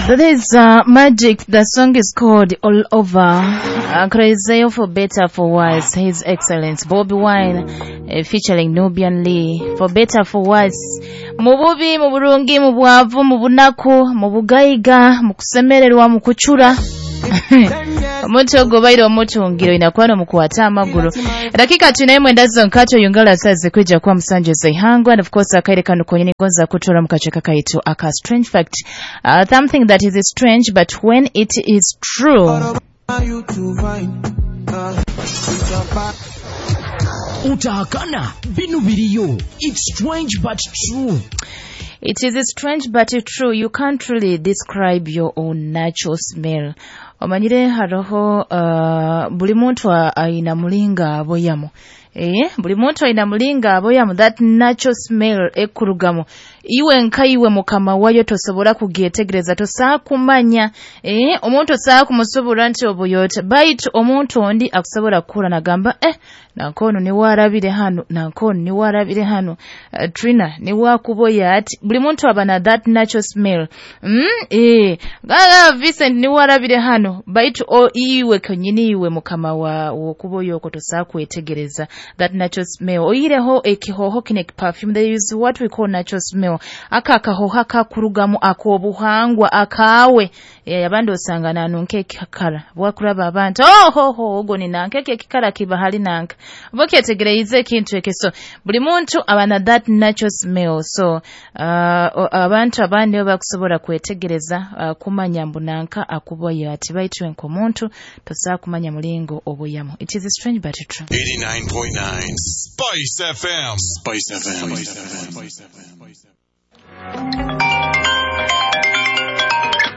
That is Magic. The song is called All Over. Crazy for Better for Worse. His Excellence Bobi Wine featuring Nubian Lee. For Better for Worse. Mu bubi, mu burungi, mu bwavu, mu bunaku, mu bugaiga, mu kusemererwa, mu kucura. Omuntu ogwo baire omutungiro inakuwa nomukwata amaguru. Dakika 39 zonkato yungala sazi kwija kuwa 7 zaihangwa, and of course akaire kano konyini gonza kutora mukacheka kaitu aka strange fact, something that is strange but when it is true. Utahakana binu biriyo. It's strange but true. It is strange but true. You can't really describe your own natural smell. Omanyire haroho buli muntu aina mulinga aboyamu. Buli muntu aina mulinga aboyamu, that natural smell ekurugamu. Iwe nka iwe mukama wayo tosobora kugyetegereza, tosaa kumanya. Omuntu osaa kumusobora nti obuyote. Baitu omuntu ondi akusobora kukura nagamba nankono ni warabire hano, nankono ni warabire hano. Trina ni wakuboya ati. Buli muntu aba na that natural smell. Vincent ni warabire hano. Baitu iwe konyini iwe mukama wa wokuboya oko tosaa kwetegereza that natural smell. Oyireho ekihoho kine perfume, there is what we call natural smell. Aka akahoho akakurugamu akobuhangwa akawe. Abandi osanga nanunka ekikara bwakuraba abantu ohoho ogo ni nanka ekikara kiba hali nanka bokyetegereize ekintu ekyo. So buli muntu aba na that natural smell. So abantu abandi bakusobola kwetegereza kumanya mbu nanka akuboya ati, baitu nk'omuntu tosaa kumanya mulingo obuyamu. It is strange but true. 89.9 Spice FM. Spice FM. Spice FM.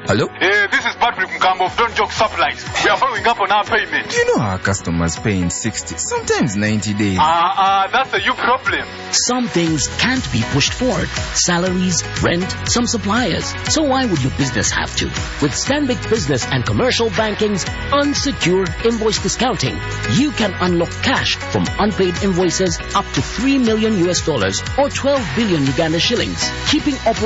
Hello? Hey, this is Patrick Mkambo of Don't Joke Supplies. We are following up on our payment. You know our customers pay in 60, sometimes 90 days. That's a you problem. Some things can't be pushed forward. Salaries, rent, some suppliers. So why would your business have to? With Stanbic Business and Commercial Banking's unsecured invoice discounting, you can unlock cash from unpaid invoices up to $3 million or 12 billion Uganda shillings, keeping operations